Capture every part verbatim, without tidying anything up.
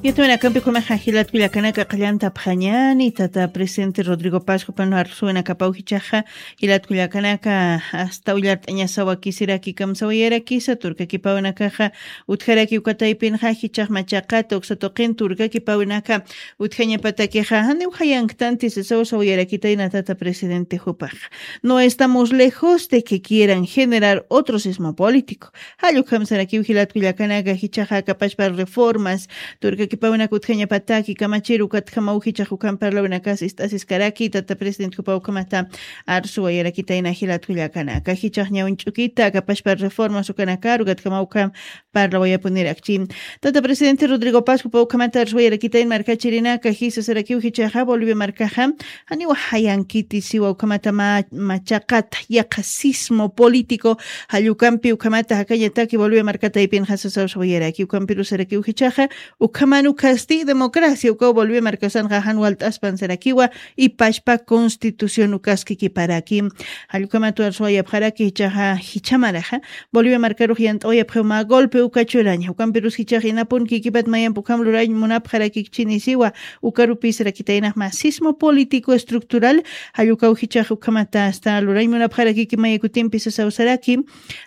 Yatawinakampi kunaxa jilatkullakanaka qallantapxañani, tata presidente Rodrigo Pascuapan arsuwinakapaw jichaxa, jilatkullakanaka, asta ullart'añasawakisiraki kamsawayarakisa, turkakipawinakaxa, utjaraki ukataypinxa, jichax machaqata, uksa tuqin turkakipawinaka, utjañapatakixa, janiw jayanktanti sasaw sawayarakitayna tata presidente jupaxa. No estamos lejos de que quieran generar otro sismo político. Jallukam sarakiw jilatkullakanaka jichaxa kapashpa reformas, turkakipawinaka utjañapataki kamachiru katjamaw jichax ukham parlawinakas ist'asiskaraki, tata presidente jupaw ukhamata arsuwayarakitayna jilatkullakanaka. Jichax ñawin ch'ukita kapashpa reformas ukanakaru katjamaw ukham parlawayapunirakchi. Tata presidente Rodrigo Paz jupaw ukhamata arsuwayarakitayn markachirinaka jisa sarakiw jichaxa Bolivia markaxa, janiw jayankiti siwa ukhamata ma-, machaqata, yaqha sismo político, jallukampi ukhamata jakañataki Bolivia markataypinxa sasaw sawayaraki, ukampirusarakiw jichaxa, ukhaman ukasti democracia, ukaw Bolivia markasanxa jan walt'aspan sarakiwa, ipashpa constitución ukaski kiparaki. Jallukamatu arsuwayapxaraki jichaxa, jichamaraxa, Bolivia markarux yant'awayapxiw mä golpe uka churaña, ukampirus jichax inapun kikipat mayamp ukham lurañ munapxarakikchini siwa, ukarupisrakitaynax mä sismo político estructural, jallukawjichax ukhamata asta lurañ munapxarakiki mayakutimpi sasaw saraki,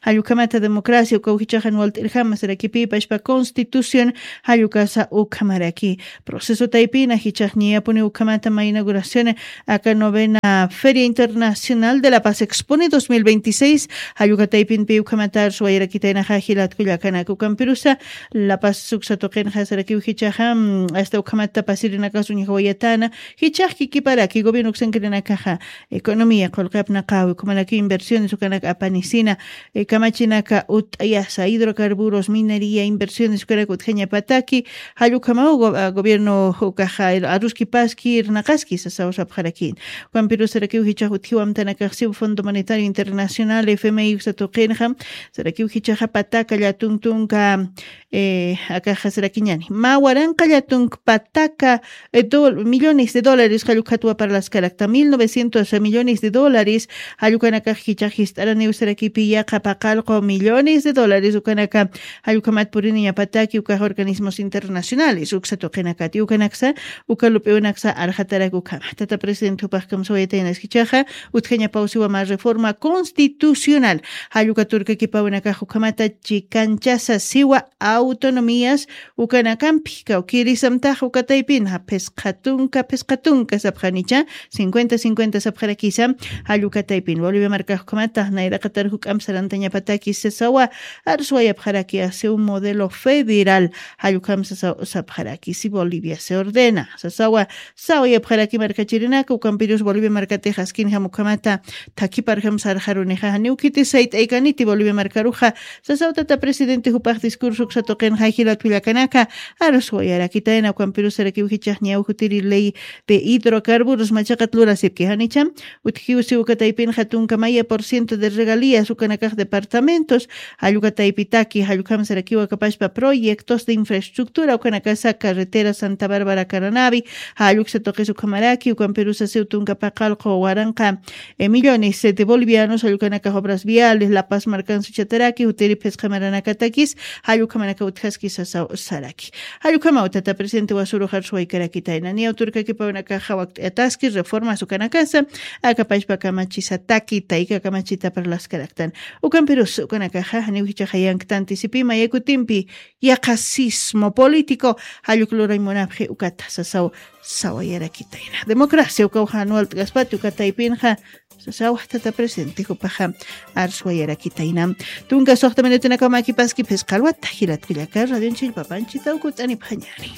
jallukhamata democracia ukawjichaxan walt'irjama sarakipï pashpa constitución, jallukasa ukhamaraki. Proceso taypina jichax ñiyapuni ukhamata mä inauguración aka novena Feria Internacional de la Paz Expone dos mil veintiséis, jallukataypinpi ukhamata arsuwayarakitaynaxa jilatkullakanaka ukampirusa, La Paz suksa tuqinxa sarakiw jichaxa, mm, asta ukhamata pasirinakas uñjawayatana, jichax kikiparaki gobierno uksankirinakaxa, economía, qullqi apnaqawi, ukhamanaki inversiones ukanak apanisina, eh, kamachinaka ut'ayasa, hidrocarburos, minería, inversiones ukanak utjañapataki, jallukhamaw go-, ah, gobierno ukaxa, aruskipaski, irnaqaski, sasaw sapxarakin. Ukampirus sarakiw jichax utjiwamtanakaxsiw Fondo Monetario Internacional, F M I uksa tuqinxa, sarakiw jichaxa pataka llatun tunka, eh, akaxa sarakiñani. Mä waranqa llatun pataka, eh, dol-, millones de dólares jallukhatwa parlaskarakta, mil novecientos millones de dólares, jallukanakax jichax jist'araniw sarakipi yaqha paqallqu millones de dólares, ukanaka jallukhamat puriniñapataki ukax organismos internacionales, uksa tuqinakati, ukanaksa, uka lup'iwinaksa arxatarak ukhama. Tata presidente jupax kamsawayataynas jichaxa, utjañapawsiwa mä reforma constitucional, jalluka turkakipawinakax ukhamata chikanchasa siwa autonomías ukanakampi, kawkïrisamtax ukataypinxa phisqa tunka, phisqa tunka sapxanicha, cincuenta cincuenta sapxarakisa, jallukataypin Bolivia markax ukhamata nayraqatar juk'amp sarantañapatakis sasawa, arsuwayapxaraki asiw modelo federal, jallukam sasaw sapxaraki, si Bolivia se ordena, sasawa, sawayapxaraki markachirinaka, ukampirus Bolivia markatix askinjam ukhamata, thakiparjam sarxarunixa, janiw khiti sayt'aykaniti Bolivia markaruxa, sasaw tata presidente jupax discurso uksa tuqinxa jilatkullakanaka, arsuwayarakitayna, ukampirus sarakiw jichax ñaw jutiri ley de hidrocarburos machaqat lurasipki, janicha, utjiwsi ukataypinxa tunka maya por ciento de regalías ukanakax departamentos, jallukataypitaki, jallukham sarakiw akapashpa proyectos de infraestructura ukanakasa carretera Santa Bárbara Caranavi, jalluksa tuqis ukhamaraki, ukampirus asiw tunka paqallqu waranqa, eh, millones, eh, de bolivianos, jallukanakax obras viales, La Paz markan suchataraki, jutiri phisqa maranakatakis, jallukhamanaka utjaski sasaw saraki. Jallukhamaw tata presidente wasurux arsuwaykarakitayna, niyaw turkakipawinakaxa wakt'ayataski reformas ukanakasa, akapashpa kamachisataki, tayka kamachita parlaskaraktan. Ukampirus ukanakaxa, janiw jichaxa yanktanti sipï mayakutimpi, yaqha sismo político, jalluk lurañ munapxi ukata, sasaw, sawayarakitayna. Democracia ukaw jan walt'kaspati ukataypinxa, sasaw tata presidente jupaxa, arsuwayarakitayna. Tunka suxta minutinakaw makipaski phisqa alwata, jilatkullaka, radion chillpapanchitaw kut'anipxañani.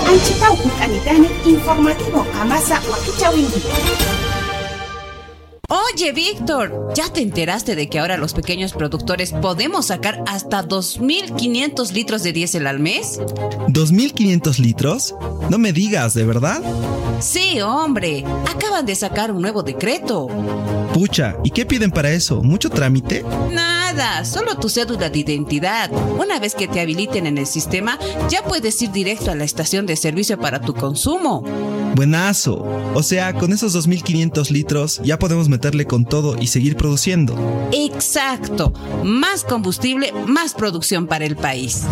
Anchitaw kut'anitani informativo qamasa wakichäwinki. Oye, Víctor, ¿ya te enteraste de que ahora los pequeños productores podemos sacar hasta dos mil quinientos litros de diésel al mes? ¿Dos mil quinientos litros? No me digas, ¿de verdad? Sí, hombre, acaban de sacar un nuevo decreto. Pucha, ¿y qué piden para eso? ¿Mucho trámite? Nada, solo tu cédula de identidad. Una vez que te habiliten en el sistema, ya puedes ir directo a la estación de servicio para tu consumo. Buenazo. O sea, con esos dos mil quinientos litros ya podemos meterle con todo y seguir produciendo. Exacto. Más combustible, más producción para el país.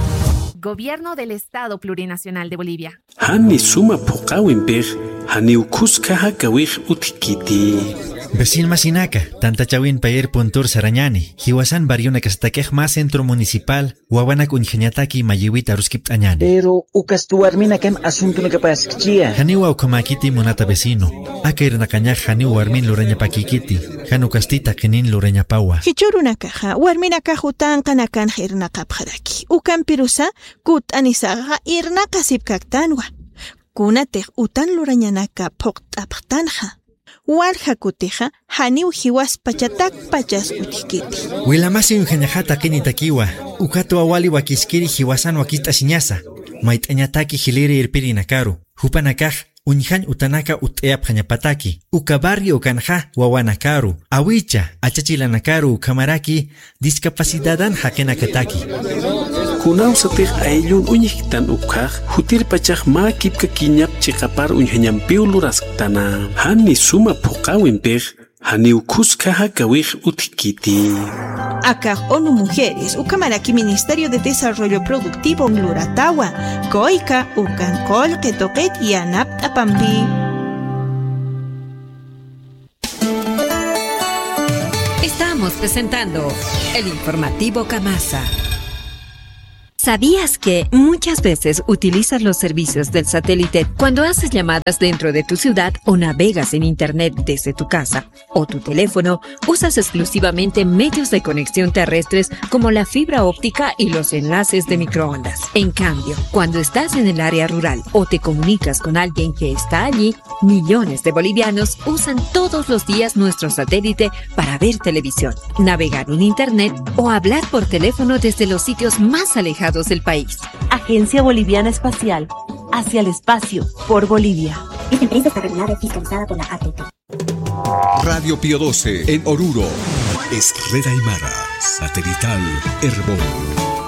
Gobierno del Estado Plurinacional de Bolivia. Jani suma phuqhäwimpix janiw khuskha jakawix utjkiti. Vecin masinaka, tantachäwin payir puntur sarañäni, jiwasan barrionakasatakix mä centro municipal wawanak uñjañataki mayïwit aruskipt'añäni. Pero ukasti warminakam asuntunakapaskchia. Janiwa ukhamäkiti munata vecino, aka irnaqañax janiw warmin lurañapakïkiti, jan ukasti taqinin lurañapawa. Jichhürunakaxa warminakax utanqanakanxa irnaqapxaraki, ukampirusa kutt'anisaxa irnaqasipkaktanwa. Kunatix utan lurañanaka phuqt'apxtanxa, walja kutixa janiw jiwaspachatakpachas utjkiti. Wilamasi uñjañaxa taqinitakiwa, ukatwa wali wakiskiri jiwasan wakicht'asiñasa, mayt'añataki jiliri irpirinakaru, jupanakax uñjañ utanaka utt'ayapxañapataki, uka barrio ukanxa wawanakaru, awicha, achachilanakaru ukhamaraki discapacidadan jaqinakataki. Kunawsatix ayllun uñjktan ukhax, jutirpachax mä kipkakiñap chiqapar uñjañampiw lurasktana. Jani suma phuqhäwimpix janiw khuskha jakawix utjkiti. Akax ONU Mujeres ukhamaraki Ministerio de Desarrollo Productivo luratawa, kuyka ukan qullqi tuqit yanapt'apampi. Estamos presentando el informativo Kamasa. ¿Sabías que muchas veces utilizas los servicios del satélite cuando haces llamadas dentro de tu ciudad o navegas en internet desde tu casa o tu teléfono? Usas exclusivamente medios de conexión terrestres como la fibra óptica y los enlaces de microondas. En cambio, cuando estás en el área rural o te comunicas con alguien que está allí, millones de bolivianos usan todos los días nuestro satélite para ver televisión, navegar en internet o hablar por teléfono desde los sitios más alejados del país. Agencia Boliviana Espacial, hacia el espacio, por Bolivia. Esta empresa está regulada y fiscalizada por la A T T. Radio Pío doce en Oruro. Es red aymara, satelital Erbol.